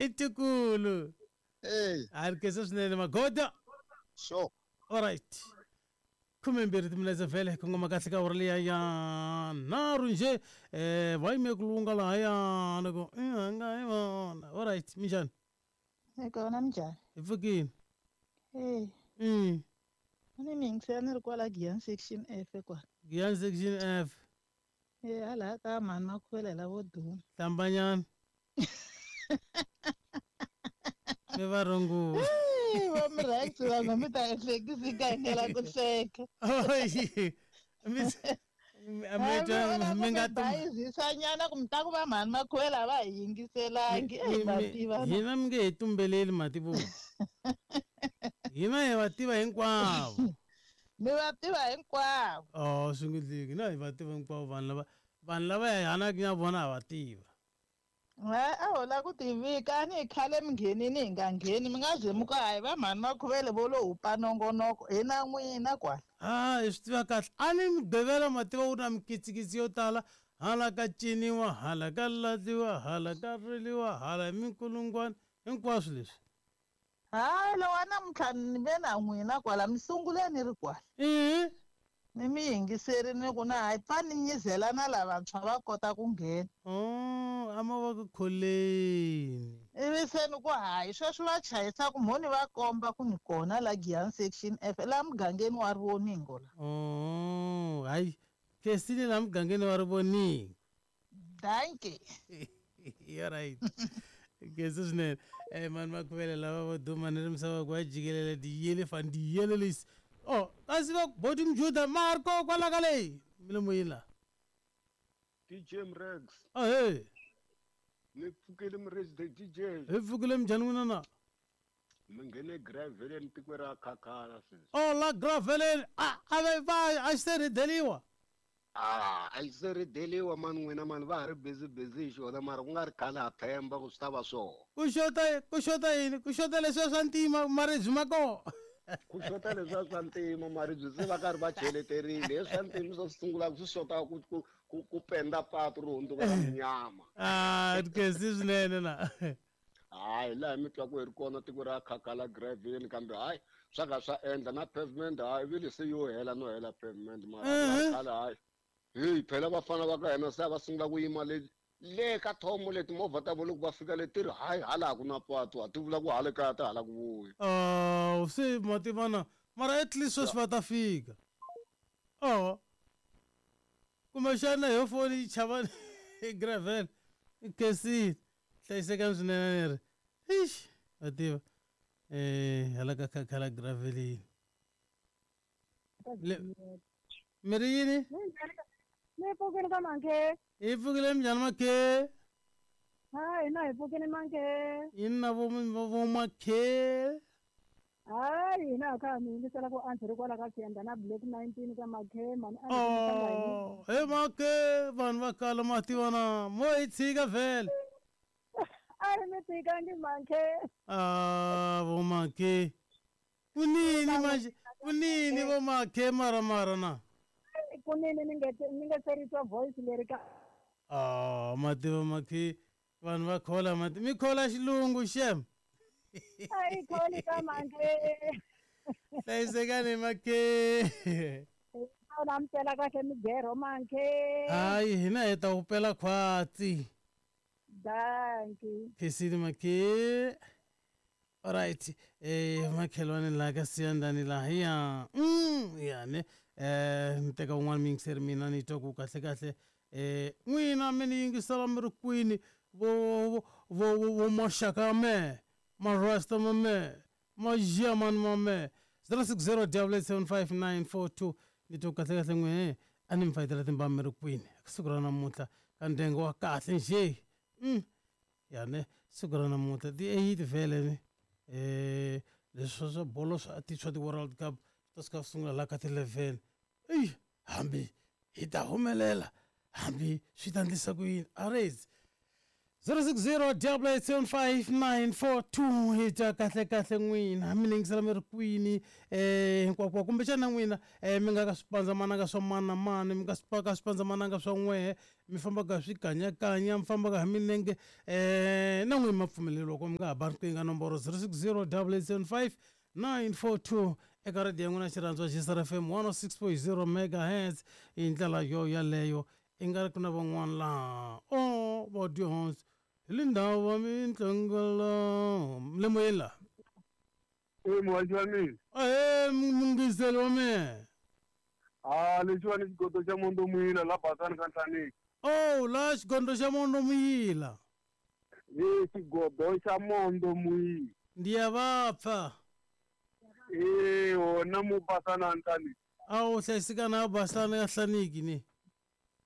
Hi tikulu. Hey. A ri khensa swinene magoda. Sure. Alright. 12 timinetse vhele kongoma kahle ka awara liya ya nharhu nje um va yime ku lunga lahaya loko i nga hi vona. Alright, minjhani? Hi kona, minjhani? Hi pfukile. Hey. Ni mi yingisela ni ri kwala Giyani section F kwala. Giyani section F. E hala ka mhani Makhuvela lavo duma. Hlambanyana. Mi va rungula. Va mi rhangi vanhu mi ta ehlekisi ka hingela ku hleka. Mi nga bayizisanyana ku mi ta ku va mhani Makhuvela va hi yingiselangi. Eyi va tiva. Hina mi nge hi tumbeleli mativo. Hina hi va tiva hinkwavo. Mi va tiva hinkwavo. Oh, swi nge dliki. Hina hi va tiva hinkwavo vanhu lava vanhu lava hi hanaka na vona ha va tiva. A ho la ku tivika a ni hi khale mi nghenini hi nga ngheni mi nga ze mi ku hayi va mhani Makhuvele vo lo hupa nongonoko hi na n'wina kwala. Ha hi swi tiva kahle a ni Mugqivela ma tiva wu na mikitsikitsi yo tala hala ka ciniwa hala ka lahliwa hala ka riliwa hala hi minkulungwana hinkwaswo leswi. Hayi lowa namuntlha ni ve na n'wina kwala mi sungule ni ri kwala. Ni mi yingiseri ni ku na hayi pfa ni nyizela na lavantshwa va kota ku nghena. Oh, a ma va ku kholeni. Ivi se ni ku hayi sweswi va chayisa ku mho ni va komba ku ni kona la Giyani section F la mugangeni wa Rivoningo la. Oh, hayi Khensile la mugangeni wa Rivoningo. Dankie. You're right. Khensa swinene. Mani Makhuvele lava vo duma ni ri misava ku va jikelela diyele fani diyele lesi. Oh, kasi va boti Mjuda ma ha ri koho kwala ka leyi milomo yini la. DJ Mrex. Ahee. Mi pfukile Mrex the DJ. Hi pfukile minjhani n'wina na? Mi nghene graveleni tiko ra khakhala sweswi. Oh la graveleni a a va va a xi se rhideliwa. A a xi se rhideliwa mani n'wina mani va ha ri busy busy hi xona mara ku nga ri khale ha themba ku swi ta va swona. Ku xota ku xota yini? Ku xota leswiya swa ntima maribye ma kona. Ku xota leswiya swa ntima maribye se va karhi va cheleterile he swa ntima swo swi sungulaka swi xota ku ku ku ku penda patu ri hundzuka ra munyama. Ah, khensi swinene na. Hayi laha mi twa ku hi ri kona tiko ra khakhala gravini kambe hayi swa ka swa endla na pavement hayi vile se yo hela no hela pavement mara khale hayi heyi phela vafana va ka hina se a va sungula ku yima le le ka thomo le timovha ta vona loko va fika le ti ri hayi hala ku na patu ha ti vula ku hala kaya ta hala ku vuya. Oh, se ma tivana mara at least sweswi va ta fika. Oh. Kumbexana yo foni yi chava gravel khensile. Hlayisekani swinene ni ri ixi wa tiva um hala ka khakhala gravelini Le- mi ri yini? Mi pfukile ka manke. Hi pfukile minjhani makhe? Ha hina hi pfukile manke. Yini na vo vo makhe? Hayi hina ha kha mi yingisela ku answer ri kwala ka Siyanda na Black 19 ka makhe mani a Oh, he makhe vanhu va kala ma tiva na mo hi tshika vhele. A hi mi tshikangi makhe. Ah, vo makhe. Kunini manje? Kunini vo makhe mara mara na? Kunini ni nge ni nge se ri twa voice leri ka. Ah, ma tiva makhe vanhu va khola ma mi khola xilungu xem. A yi kholi ka makhe. Hlayisekani makhe. Na mi pela kahle migero makhe. Hayi hina hi ta wu pela khwatsi. Dankie. Khensile makhe. Alright, makhelwane la ka Siyandani laha ya ya ne ni teka un'wana muyingiseri mina ni twa ku kahle kahle n'wina mi ni yingisela mi ri kwini vo vo vo maxaka ya mehe marasta ma mehe magerman ma mehe 060 75942 ni twa ku kahle kahle n'wehe a ni mi fayetela timbama mi ri kwini siku ra namuntlha ka ndyangu wa kahle njhe ya ne siku ra namuntlha ti 8 vhele ni leswi swa bolo swa ti swa ti-World Cup swi ta suka swi sungula la ka ti-11 eyi hambi hi ta humelela hambi swi ta ndlisa ku yini arezi. 060 875 hi twa kahle kahle n'wina mi ningisela mi ri kwini hinkwako kumbexana n'wina mi nga ka swipandzamananga swa mani na mani mi nga ka swipandzamananga swa n'wehe mi fambaka swikanyakanya mi fambaka hi milenge na n'wina ma pfumeleriwa ku mi nga ha ba riqingho ka nomboro 060 875 942 eka radiyo ya n'wina xirhandzwa xisar FM 106.0 megahertz. Hi ndlela yo yaleyo i nga ri ku na van'wana laha o va dyondzo hi le ndhawu va mintlangela le moyeni laha. E muhaxi wa mina. Ahe, mungiseli wa mina. A lexiwani xigodo xa Mondo Muyila la Basani ka Nhlaniki. O la xigondo xa Mondo Muyila. E xigodo xa Mondo Muyila. Ndi ya va pfa. E wona mu Basani a Nhlaniki. A wu hlayisekana a Basani ya Nhlaniki ni.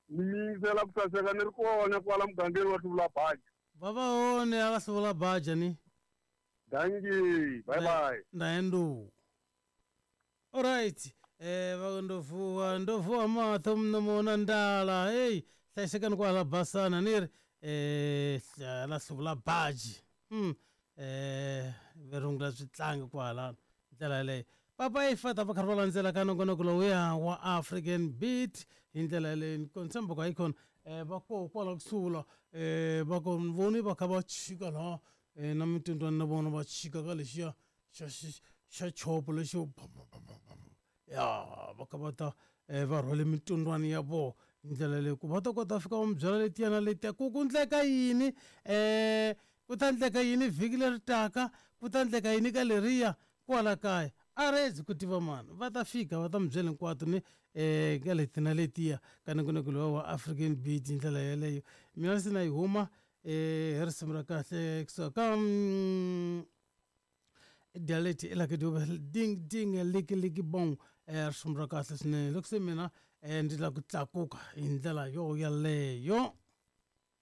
Ni yingisela ku saseka ni ri kona kwala mugangeni wa Hluvula Baja. Va va hone a ka Hluvula Baja ni. Dankie, bye bye. Ndaendu. Alright. Va ndo vuwa ndo vuwa matho mnomona ndala. Hey, hlayisekani kwala Basana ni ri la Hluvula Baji. Verungula switlangi kwala ndlela yaleyo. Papa i fata va karhi va landzela ka nongonoko lowuya wa African Beat hi ndlela yaleyo ni tshemba ku hayikhona va koho kwala kusuhi la va ko ni voni va kha va chika laha na mitindwani na vona va chika ka lexiya xa xa chopo lexo ya va kha va ta va rhwale mitindwani ya vona hi ndlela leyi ku va ta kota fika va mi byela letiya na letiya ku ku ndleka yini ku ta ndleka yini vhiki leri taka ku ta ndleka yini ka leriya kwala kaya a rezi ku tiva mani va ta fika va ta mi byela hinkwato ni ka leti na letiya ka nongonoko lowa wa African Beat hi ndlela yeleyo. Mina se na yi huma hi risimu ra kahle kusuka ka dialect elake dube ding ding liki liki bong risimu ra kahle swinene loko se mina ndzi lava ku tlakuka hi ndlela yo yaleyo.